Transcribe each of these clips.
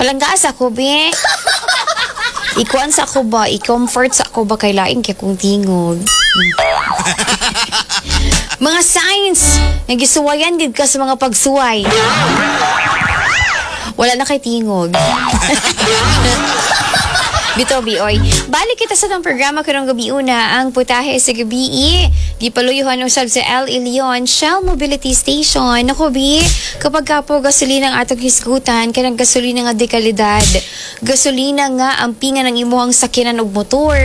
Palangga sa ko, be. Ikuan sa ako ba, i-comfort sa ako ba kay lain kay kong tingog. Mga signs nga gisuwayan gid ka sa mga pagsuway. Wala na kay tingog. Bito, Bioy. Balik kita sa tong programa karong gabi una, ang Putahe sa Gabi. Gipaluyuhan usab sa El Ilion Shell Mobility Station. Nako, bi, kapag ka po gasolina ang atong hisgutan, kanang gasolina nga de kalidad. Gasolina nga ang pinga ng imuhang sakyanan og motor.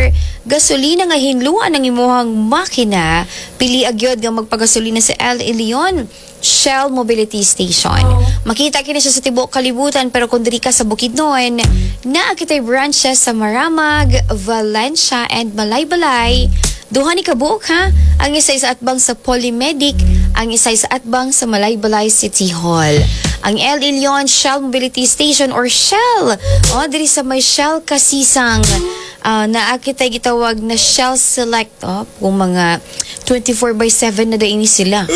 Gasolina nga hinluan ng imuhang makina. Pili agyod nga magpagasolina sa El Ilion Shell Mobility Station. Makita kini siya sa tibuok kalibutan, pero kung diri ka sa Bukidnon, naa kitay branches sa Maramag, Valencia and Malaybalay. Duha ni kabuok ha. Ang isa sa atbang sa Polymedic, ang isa sa atbang sa Malaybalay City Hall. Ang El Ilion Shell Mobility Station or Shell, oh, diri sa may Shell Kasisang, naa kitay gitawag na Shell Select, oh, kung mga 24 by 7 na daini sila.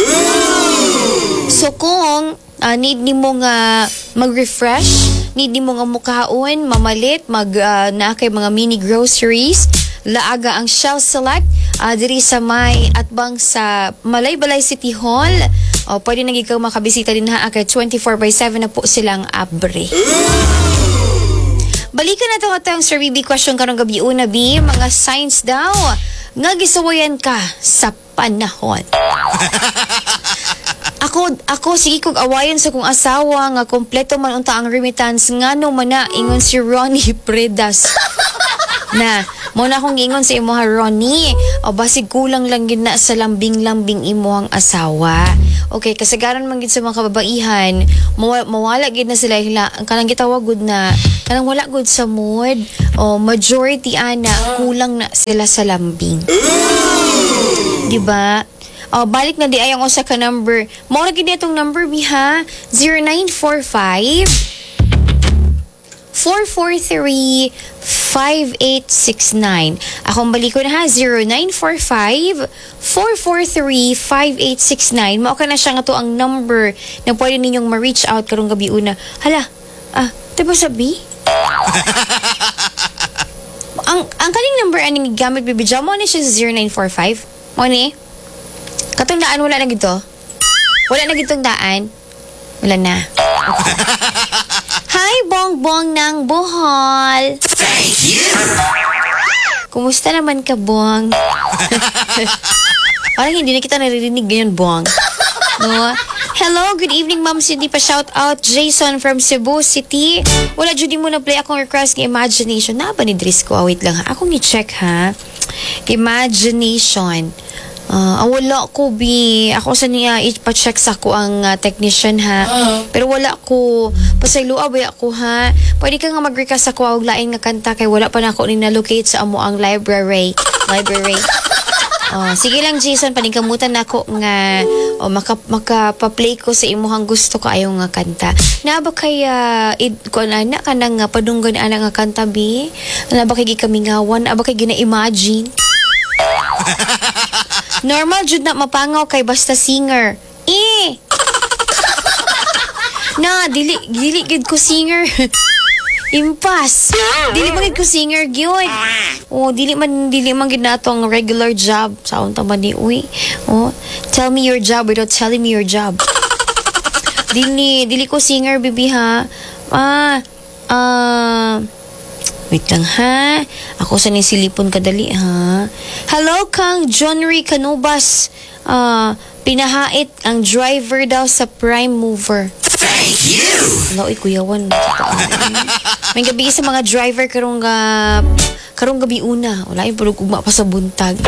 So kung need nimo nga mag-refresh, need nimo nga mukaon, mamalit, mag naa kay mga mini groceries, laaga ang Shell Select diri sa may atbang sa Malaybalay City Hall. O pwede na gid kang makabisita din ha kay 24 by 7 na po silang abre. Balikan na to atong Sir BB question karong gabi una, B, mga signs daw nga gisuwayan ka sa panahon. Ako sige kog awayon sa kong asawa nga kompleto man unta ang remittance, ngano man na, ingon si Ronnie Predas. Na, mo na akong giingon sa imo ha, Ronnie. O basig kulang lang gid na sa lambing-lambing imuhang asawa. Okay, kasagaran man gid sa mga kababaihan, mawala gid na sila hila, ang kanang gitawag gud na kanang wala gud sa mood. O majority ana kulang na sila sa lambing. Di ba? Oh, balik na di ay ang usa ka number. Mao ra gid itong number bi ha. 0945 443 5869. Akong balik ko na ha, 0945 443 5869. Mao ka na siya nga to ang number na pwede ninyong ma-reach out karong gabi una. Hala, diba sabi? Ang kaning number aning gigamit, Bibi Jo, mo ni siya sa 0945. Mo ni? Katong daan wala na gito? Wala na gitong daan? Wala na. Okay. Hi, Bongbong ng Bohol. Thank you. Kumusta naman ka, Bong? Parang hindi na kita naririnig ngayon, Bong. No? Hello, good evening, Ma'am Cindy. Pa-shout out, Jason from Cebu City. Wala, Judy mo na play akong request ng Imagination. Na ba ni Drisco? Ah, wait lang ha. Akong i-check ha. Imagination. Ah, wala ko, bi. Ako sa niya, ipa-check sa ko ang technician, ha. Pero wala ko. Pasayloa ba ako, ha? Pwede ka nga mag-request sa ko og lain nga kanta kay wala pa na ako ni na-locate sa amo ang library. Library. Oh, sige lang, Jason, paningkamutan nako nga oh, maka makapa-play ko sa imuhang gusto kaayo nga kanta. Na ba kay id ko na na kanang padunggan ana nga kanta bi? Na ba kay gikamingawan? Na ba kay gina-imagine? Normal jud na mapangaw kay basta singer. Eh. Na dili dili gid ko singer. Impas. Dili man gid ko singer gyud. Oh, dili man gid nato ang regular job. Saon ta man ni uy. Oh, tell me your job without telling me your job. Dili dili ko singer, bibi ha. Ah, wait lang ha. Ako sa ni silipon kadali ha. Hello kang John Ray Canubas. Ah, pinahait ang driver daw sa Prime Mover. Thank you. Hello, oy, kuyawan. May gabi sa mga driver karong gabi una. Wala yung pulog ugma pa sa buntag.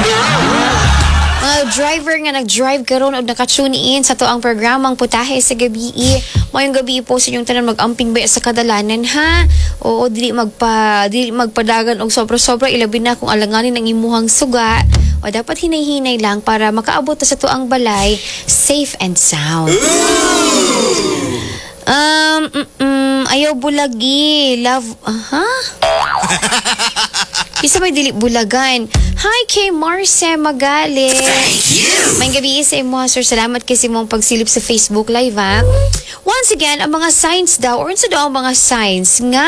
Mga driver nga nag-drive karon og naka-tune in sa to ang programang Putahe sa Gabi. Mayong gabi po sa inyong tanan, mag-amping ba sa kadalanan ha. Oo, dili magpadagan og sobra-sobra, ilabi na kung alanganin ang imuhang suga. O dapat hinay-hinay lang para makaabot ta sa tuang balay safe and sound. Ayaw bulagi. Love, aha? Bisa may dili bulagan. Hi kay Marce Magali. Maayong gabii sa imo, sir. Salamat kay sa imong pagsilip sa Facebook Live, ha. Once again, ang mga signs daw, or unsa daw ang mga signs nga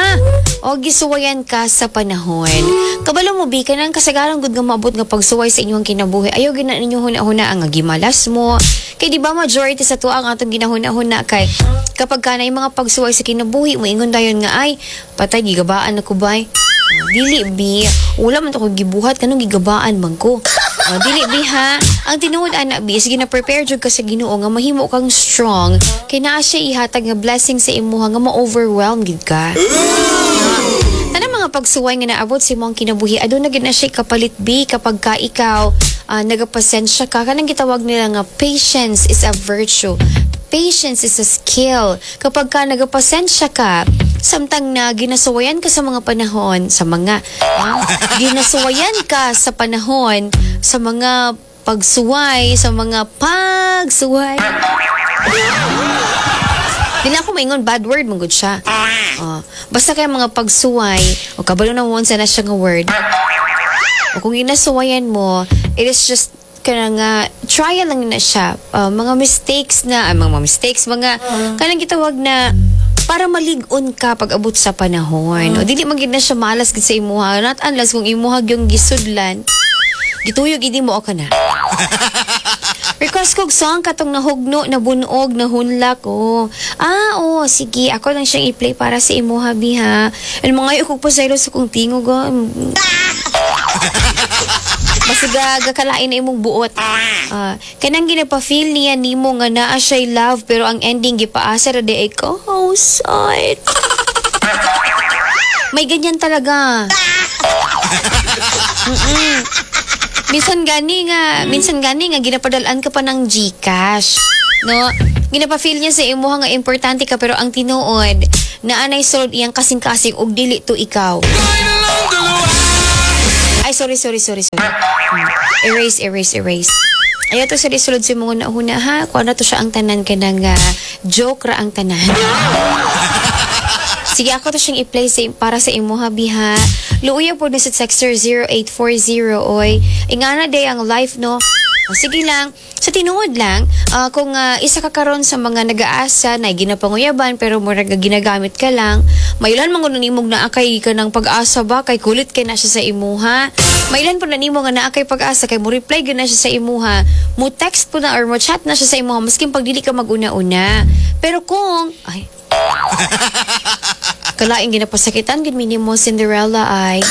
o gisuwayan ka sa panahon. Kabalo mo, bi, kanang kasagaran gud nga maabot nga pagsuway sa inyong kinabuhi. Ayaw gina ninyo huna-huna ang gimalas mo. Kay di ba majority sa tuwa ang atong ginahuna-huna kay kapag ka na yung mga pagsuway sa kinabuhi, moingon dayon nga, "Ay, patay, gigabaan ako bay." Dili bi, wala man to ko gibuhat kanong gigabaan man ko. Oh, dili bi ha. Ang tinuod ana bi, sige na, prepare jud ka sa Ginoo nga mahimo kang strong kay naa siya ihatag nga blessing sa imuha nga ma-overwhelm gid ka. Tanang mga pagsuway nga naabot sa imong kinabuhi, aduna gid na siya kapalit bi kapag ka ikaw nagapasensya ka. Kanang gitawag nila nga patience is a virtue. Patience is a skill. Kapag ka nagapasensya ka, samtang na ginasuwayan ka sa mga panahon, sa mga ginasuwayan ka sa panahon, sa mga pagsuway, sa mga pagsuway. Di na ako maingon bad word, man gud siya. Oh, basta kay mga pagsuway, o kabalo na mo unsa na siya nga word. O kung ginasuwayan mo, it is just kanang trial lang na siya. Mga mistakes na, mga mistakes, mga kanang gitawag na para malig-on ka pag abot sa panahon. O dili man gid na siya malas gid sa imuha. Not unless kung imuha yung gisudlan. Gituyo gid mo ka na. Request kog song katong "Nahugno, Nabunog, Nahunlak." Oh. Ah, oh, sige. Ako lang siyang i-play para sa imuha, bi, ha. And mga kog pasaylo sa kong tingog, oh. Basta gakalain na imong buot. Ah, kanang ginapa-feel niya nimo nga naa siya'y love pero ang ending gipaasa ra di ay ko. Oh, sad. May ganyan talaga. Minsan gani nga ginapadalan ka pa ng GCash. No? Ginapa-feel niya sa imuha nga importante ka pero ang tinuod, naanay sulod iyang kasing-kasing og dili to ikaw. Ay, sorry, sorry, sorry, sorry. Erase, erase, erase. Ayaw to sa sulod sa mga una ha. Kuha na to siya ang tanan ka ng joke ra ang tanan. Sige, ako to siyang i-play para sa imuha, biha. Luuya po na sa texter 0840, oy. Ingana day ang life, no? O, sige lang. Sa tinuod lang, kung isa ka karon sa mga nag-aasa na ginapanguyaban pero murag ginagamit ka lang, mailan man kuno nimog naa kay ka ng pag-asa ba kay kulit kay na siya sa imuha. Mailan po na nimo nga naa kay pag-asa kay mo reply gyud na siya sa imuha, mo text po na or mo chat na siya sa imuha maskin pag dili ka maguna-una. Pero kung ay kalaing ginapasakitan gid minimo Cinderella ay.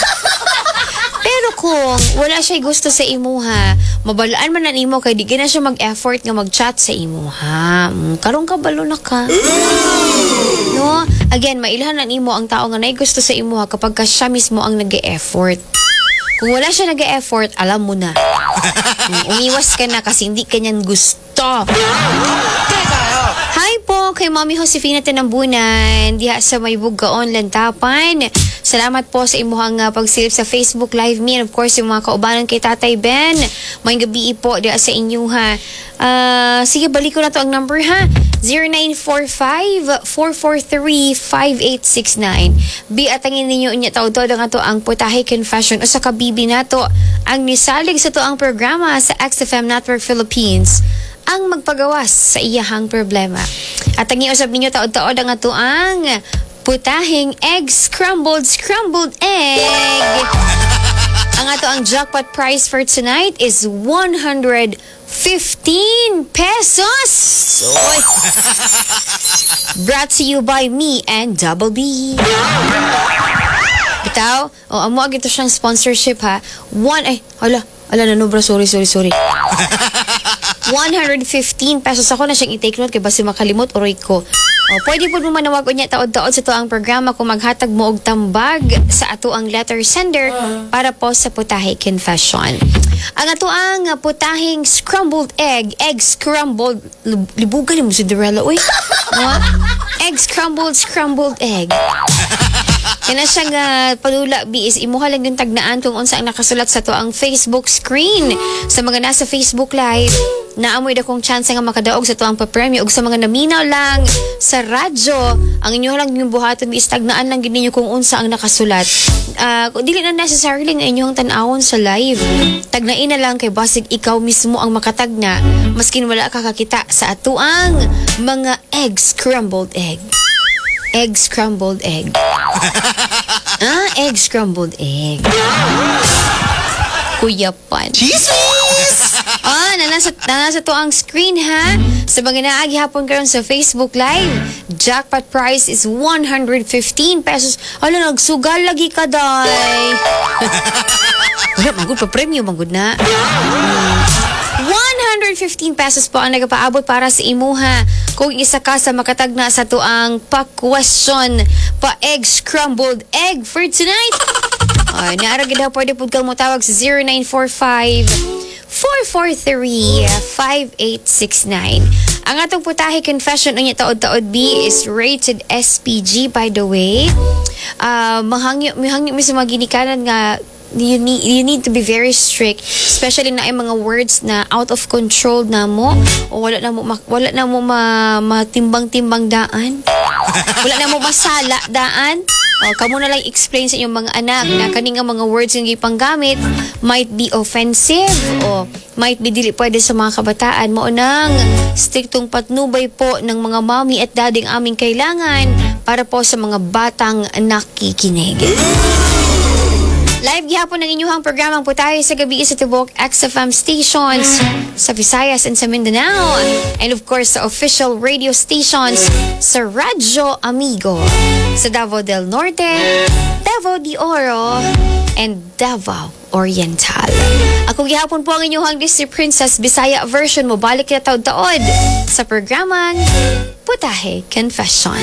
Pero kung wala siya gusto sa imuha, mabalaan man na nimo kay di na siya mag-effort nga mag-chat sa imuha. Karon ka balo na ka. No? Again, mailhan na nimo ang tao nga naay gusto sa imuha kapag ka siya mismo ang nag-effort. Kung wala siya nag-effort, alam mo na. Umiwas ka na kasi hindi ka niyan gusto. Hi po kay Mami Josefina Tinambunan diha sa may Bugaon, Lantapan. Salamat po sa imuhang pagsilip sa Facebook Live me and of course yung mga kaubanan kay Tatay Ben. Maayong gabii po diha sa inyo ha. Sige, balik ko na to ang number ha. 0945-443-5869. Bi atangin ninyo unya taud-taud ang ato ang Putahe Confession o sa kabibi nato ang nisalig sa to ang programa sa XFM Network Philippines ang magpagawas sa iyahang problema. At ang iusap ninyo taod-taod ang ato ang putahing egg scrambled scrambled egg. Ang ato ang jackpot prize for tonight is 115 pesos. Oy. Brought to you by me and Double B. Bitaw, o amo ito siyang sponsorship ha. One, ay, hala, hala na nobra, sorry, sorry, sorry. 115 pesos ako na siyang i-take note kay basi makalimot uroy ko. O, pwede po mo manawag unya taod-taod sa to ang programa kung maghatag mo og tambag sa ato ang letter sender para po sa Putahe Confession. Ang ato ang putahing scrambled egg, egg scrambled, libugan mo Cinderella, uy. No? Egg scrambled, scrambled egg. Kana siya nga padula bi is imuha lang yung tagnaan kung unsa ang nakasulat sa to ang Facebook screen. Sa mga nasa Facebook Live, naamoy dakong chance nga makadaog sa to ang papremyo ug sa mga naminaw lang sa radyo, ang inyo lang yung buhaton is tagnaan lang gid ninyo kung unsa ang nakasulat. Dili na necessarily nga inyong tan-awon sa live. Tagnain na lang kay basig ikaw mismo ang makatagna maskin wala ka kakita sa atuang mga egg scrambled egg. Egg scrambled egg. Ah, egg scrambled egg. Kuyapan. Chismis! Ah, nanasa to ang screen ha. Sa mga naagi hapon karon sa Facebook Live, jackpot price is 115 pesos. Ala, nagsugal lagi ka, day. Wala, magud pa premyo, magud na. 115 pesos po ang nagapaabot para sa imuha kung isa ka sa makatagna sa tuang pa-question, pa-egg scrambled egg for tonight. Ay, naara gid ha, pwede pud kang motawag sa 0945 443 5869. Ang atong putahe confession unya taod-taod B is rated SPG, by the way. Mahangyo mi sa mga ginikanan nga you need to be very strict, especially na ay mga words na out of control na mo o wala na mo matimbang-timbang daan, wala na mo masala daan. O, kamo na lang explain sa inyong mga anak na kani nga mga words nga gipanggamit might be offensive o might be dili pwede sa mga kabataan. Mao nang striktong patnubay po ng mga mommy at daddy ang aming kailangan para po sa mga batang nakikinig. Live gihapon ang inyong programang Putahe sa Gabi sa tibok XFM stations sa Visayas and sa Mindanao. And of course, sa official radio stations sa Radyo Amigo sa Davao del Norte, Davao de Oro, and Davao Oriental. Ako gihapon po ang inyong Disney Princess Bisaya version mo balik na taod-taod sa programang Putahe Confession.